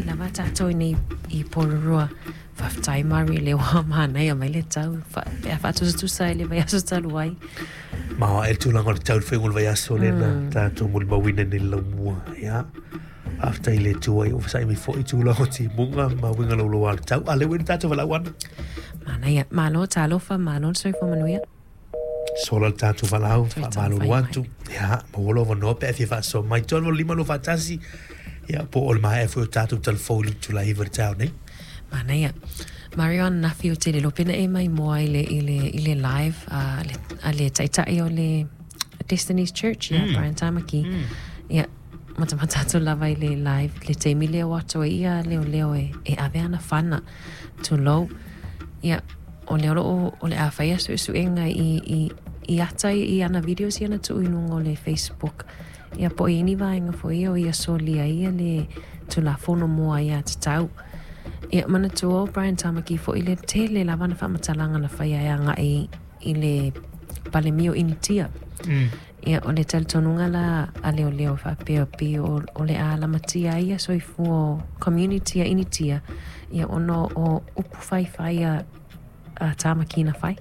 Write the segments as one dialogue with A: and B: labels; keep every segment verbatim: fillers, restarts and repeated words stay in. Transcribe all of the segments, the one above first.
A: lava tātou nei i Porirua. Faafetai Mari le ua manaia mai le tau pe a faatusatusa i le vaiaso talu ai.
B: Ma e tulaga o le tau le faiga o le vaiaso lea na tatou molimauina nei le laumua. Ia, faafetai i le Atua ua fesaai mai foi tulaga o timuga ma uiga laulau o le tau. A lea ua i le tatou valaau ana.
A: Manaia, malo talofa, malo le soifua manuia.
B: Sola le tatou valaau,
A: Toe
B: faamalulu
A: taumafai
B: atu. Ia, maua lou avanoa pe a fia faasoa mai. Tolu lima lua faatasi. Ia, po o le maea foi o tatou talafou i le itula iva i le taeao nei.
A: Manaia. Mario ananafi ou te le iloa pe na e maimoa i le, i le, i le live a le, a le taitai o le Destiny's Church, ia, mm. Brian Tamaki. Mm. Ia, matamata atu lava i le live, le taimi lea o atu ai ia leoleo e, e ave ana fana, tulou. Ia, o le o loo, o le a faia suesuega i, i, i ata i, i ana videos ia na tuu i luga o le Facebook. Ia po o i ai ni vaega foi ia o ia solia ai ia le Tulafono mo Aiatatau. Ia manatua o Brian Tamaki foi le tele lava ana faamatalaga na faia e agai i le Palemia o Initia. Mm. Ia o le talitonuga la a leoleo faapea pei o, o le a lamatia ai ia soifua o community a Initia ia ona o upu faifai a, a Tamaki na fai.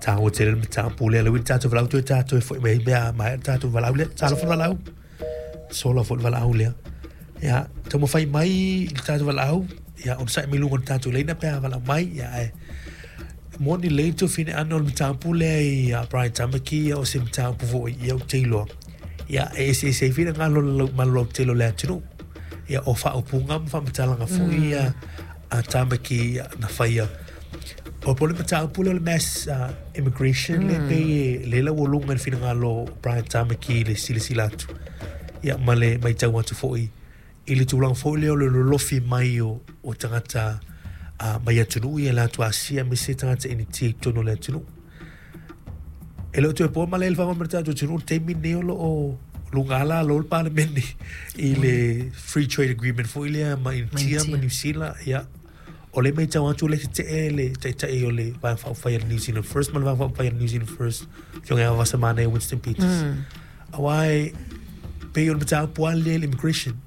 B: Taua tele le mataupu lea, le ua i le tatou valaau toe tatou e foi mai ai mea maea le tatou valaau lea. Talofa le valaau. Sola foi le valaau lea. Ia, taumafai mai i le tatou valaau, ia, onosai mai luga o le tatou laina pe a valaau mai, ia, ae moni lelei le tuafine ana o le mataupu lea i a Brian Tamaki, ia, o se mataupu foi, ia, ou te iloa, ia, e eseese ai finagalo o le malolautele o le atunuu. Ia, o faaupuga ma faamatalaga foi ia a Tamaki na faia. O po o le mataupu lea o le mass uh, immigration mm. le pei e le laualuga i le finagalo o Brian Tamaki i le silasila atu. Ia, ma le matau atu foi i le tulaga foi lea o le lolofi mai o, o tagata uh, mai atunuu ia le atu Asia aemaise tagata Initia i totonu o le atunuu. E le o toe po malae i le fagoa ma le tatou atunuu le taimi lenei o lo o luga ala alo le Palemene i le Free Trade Agreement foi lea ma Initia ma Niu Sila. Ia, o lea e matau atu o lea e tetee le taitai o le Vaega Faaupufai a le New Zealand First ma le Vaega Faaupufai a le New Zealand First, Afioga ia Vasamanaia Winston Peters. Aua e pei o le mataupu lava lea i le immigration.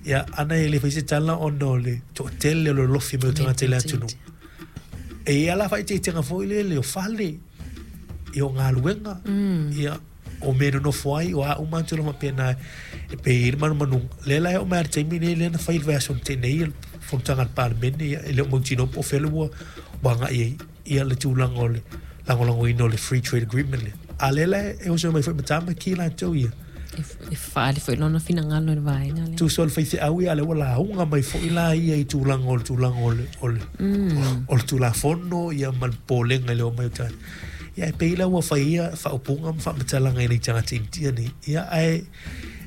B: Ia, ana e le fai se tala ona o le toatele o le lolofi mai o tagata i le atunuu. E i ai lava la faaeteetega foi lele o fale, ia o galuega, ia o mea e nonofo ai, o a uma lava tulaga faapena e pei e i ai le manumanuga. O lea la e oo mai lava i le taimi lenei lea na fai i le vaiaso na tea nei le fonotaga a le Palemene, ia e le o mautinoa po o fea le ua agai ai ia le tulaga o le lagolagoina o le Free Trade Agreement lea. A o lea la e oso mai foi ma Tamaki latou ia.
A: E faaali foi lona finagalo i le vaega lea.
B: Tusa o le faifeau ia, a o lea ua lauga mai foi la ia i tulaga o le tulaga o le, o le, o le Tulafono ia ma le popolega i le omai o tagata. Ia e pei la ua fai ia faaupuga ma faamatalaga i nai tagata Initia nei. Ia ae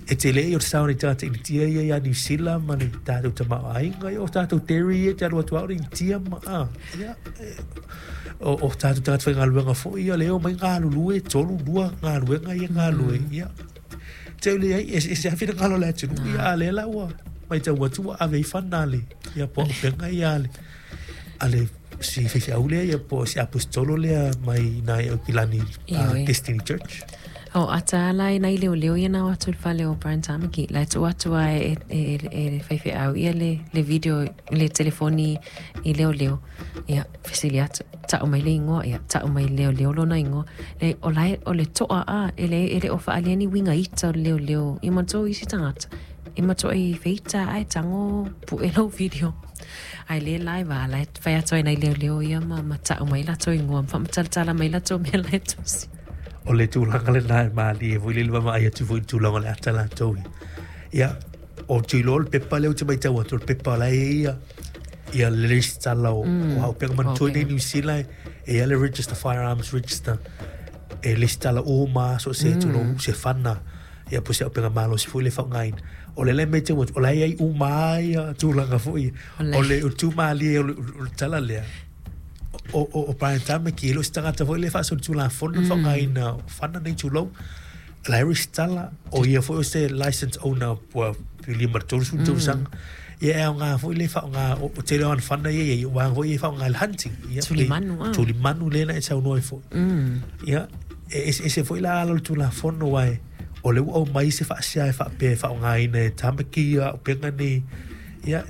B: e tele ia o le sao o nai tagata Initia ia ia Niu Sila ma le tatou tamaoaiga, ia o tatou dairy ia e te alu atu lava o le Initia ma a. Ia o, o tatou tagata faigaluega foi ia lea e omai galulue, tolu, lua galuega ia e galulue. Ia te leai, e eseese lava finagalo o le atunuu, ia a o lea la ua matau atu ua ave ai fana a le ia po o auupega ia a le a le si faifeau lea ia po o si aposetolo lea mai nai Aukilani uh, Destiny Church.
A: O ata la e nai leoleo ia na o atu i le fale o Brian Tamaki. La e tuu atu lava e, e, e, e le faifeau ia le, le video, le telefoni i leoleo. Ia, fesili atu, tau mai le igoa, ia, tau mai le leoleo lona igoa. Le, o la e, o le toa a, e le, e le o faaalia ni uiga ita o le leoleo. Ia manatua o isi tagata, e matuai feita ae tago pue lou video. Ae le live a, la e fai atu ai nai leoleo ia ma, ma tau mai latou igoa, ma faamatalatala mai latou mea la e tusi.
B: O le tulaga lena e malie foi le le vaavaai atu foi i le tulaga o le ata latou ia. Ia, ou te iloa o le pepa lea ou te matau atu, o le pepa o la e i ai ia, ia le resitala o, mm, o Auupega. Manatua i inei i Niu Sila e i ai le register, firearms register, e resitala uma lava so o se, mm. tulou, se fana, ia po o se auupega malosi foi lea e faaaogaina. O lea la e matau atu, o la e i ai uma lava ia tulaga foi ia. O le tu malie o le, o le tala lea, o, o, o Brian Tamaki, e le o se tagata foi lea e faasolitulafono le faaaogaina o fana nei, tulou. O la e resitala, o ia foi o se license owner ua pilia ma le tolusefulu tausaga. Ia e aoga foi le faaaoga, o, o tele o ana fana ia e i ai, o vaega foi ia e faaaoga i le hunting. Ia,
A: Tulimanu, ah.
B: Tulimanu lea na e saunoa ai foi. Ia, e eseese foi la ala o le Tulafono, aua o lea ua aumai se faasea e faapea e faaaogaina e Tamaki ia auupega nei. Ia,